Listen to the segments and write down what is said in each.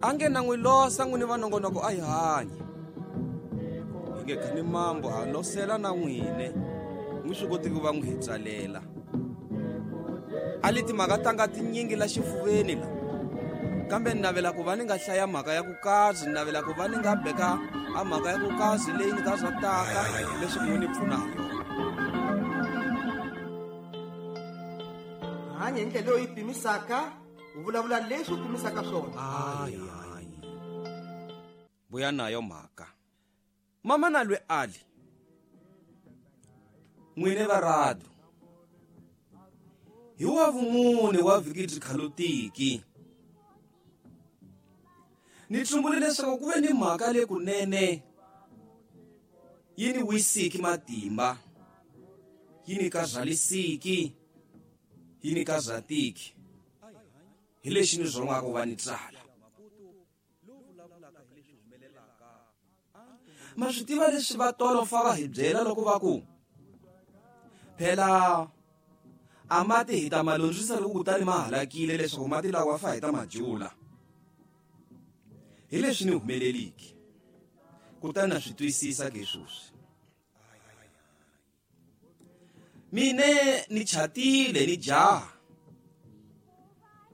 A nge na n'wi losa n'wini va nongonoko a hi hanyi. Hi nge khani mambo ha losela na n'wine. N'wi swi koti ku va n'wi hi tsalela. A li timhaka tanga tinyingi la xifuveni la. Kambe ni navela ku va ni nga hlaya mhaka ya ku kazi, ni navela ku va ni nga beka a mhaka ya ku kazi leyi ni ka zwa taka leswi n'wi ni pfuna hi yona. Hanya hi ndlela leyi u yi pimisaka, u vulavula leswi u pimisaka swona. Hayi, hayi. Vuya nayo mhaka. Mama na lwe ali. N'wine va rado. Hi wa vumune wa vhiki byi khalutiki. Ni tsumbule leswaku ku ve ni mhaka le kunene yi ni wisiki matimba, yi ni kazalisiki, yi ni kazatiki. Hi lexi ni zwongaka va ni tsala. Ma swi tiva leswi va tolo fa va hi byela loko va ku phela a mati hi ta ma lundzisa loko kutani ma halakile leswaku mati lawa fa hi ta ma jula. Hi leswi ni humeleliki. Kutani na swi twisisa ke sweswi. Mine ni chatile ni jaha.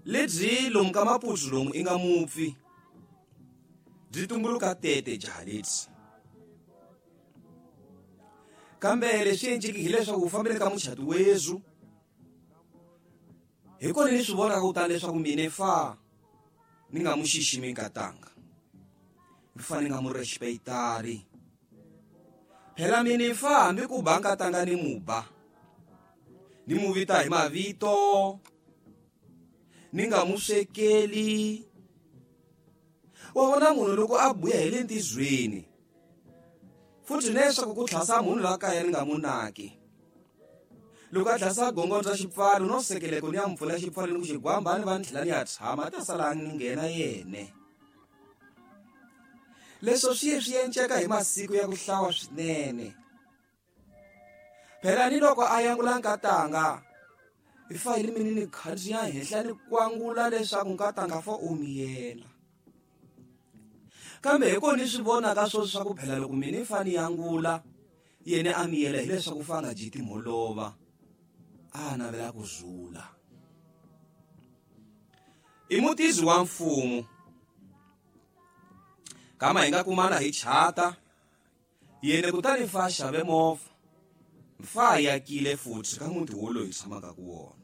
Lebyi lomu ka maputsu lomu i nga mupfi. Byi tumbuluka tete jaha lebyi. Kambe leswi endleki hileswaku u fambile ka muchati wezu. Hi kona ni swi vonaka kutani leswaku mine fa ni nga mu xiximi nkatanga. Ni fa ni nga mu respectari. Phela mine fa hambi ku ba nkatanga ni mu ba. Ni mu vita hi mavito. Ni nga mu swekeli. Wa vona munhu loko a buya hi le ntizweni. Futhi leswaku ku tlhasa munhu la kaya ni nga mu naki. Loko a tlhasa gongondza xipfalo no sekeleko ni ya mpfula xipfalo ni ku xigwamba ni va ni tlhela ni ya tshama a ta sala ni nghena yene. Leswo swi ye swi enceka hi masiku ya ku hlawa swinene. Phela ni loko a yangula nkatanga, hi fa hi rimini ni khandziya henhla ni kwangula leswaku nkatanga fa u miyela. Kambe hi kona ni swi vonaka swo swa ku phela loko mina ni fa ni yangula, yena a miyela hileswaku fa nga dyi timholova, a navela ku zula. I mutizi wa mfumo. Kama hi nga kumana hi chata, yena kutani fa xave movha, fa yakile futhi ka muti wolowo hi tshamaka ku wona.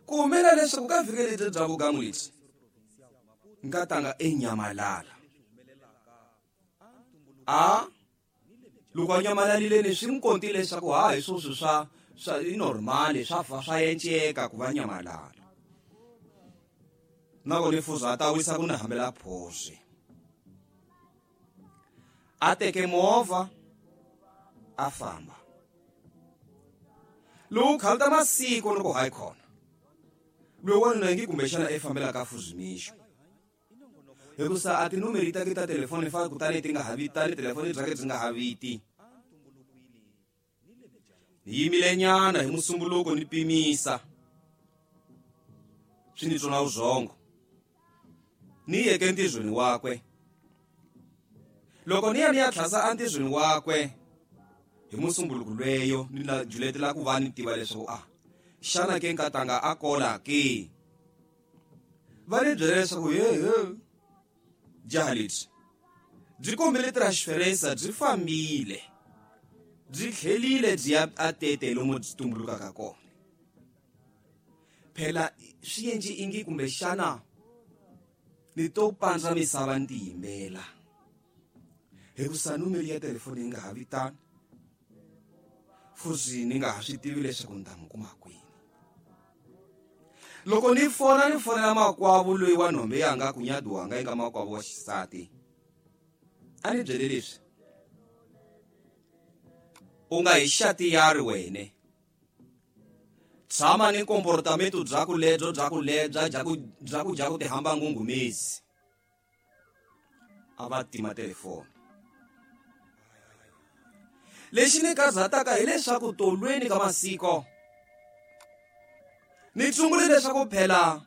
Ku humelela leswaku ka vhiki lebyi bya vugangu lebyi, nkatanga enyamalala. A loko a nyamalalile ni swi n'wi kontile leswaku ha hi swoswi swa i normal, swa fa swa enceka ku va nyamalala. Na kona fuza a ta wisa ku ni hambela phosi. A teke movha a famba. Loko khalta masiku loko hayi khona. Loyi wanuna ngi kumbexana e fambela ka Fuzimixo. Hikusa a tinumeri ta ke ta telefoni fa kutani ti nga ha vitani, telefoni bya ke byi nga ha viti. Ni yimile nyana hi musumbuluko ni pimisa. Swi ni tsona vuzongo. Ni yeke entizweni wakwe. Loko ni ya ni ya tlhasa entizweni wakwe hi musumbuluko lweyo ni la juletela ku va ni tiva leswaku a xana ke nkatanga a kola ke. Va ni byela leswaku he he jaha lebyi byi kombile transferensa byi fambile byi tlhelile byi ya a tete lomu byi tumbulukaka kona. Phela swi endli ingi kumbexana ni to pandza misava ni tiyimbela. Hikusa numeri ya telefoni yi nga ha vitani, futhi ni nga ha swi tivi leswaku ni ta n'wi kuma kwini. Loko ni fona ni fonela makwavo loyi wa nhombe yanga ku nyadiwanga eka makwavo wa xisati, a ni byele leswi: u nga hi xati yari wene, tshama ni komportamento bya ku lebyo bya ku lebya bya ku bya ku dya ku tihamba ngungumezi. A va tima telefoni. Lexi ni kazataka hileswaku tolweni ka masiko ni tshungule leswaku phela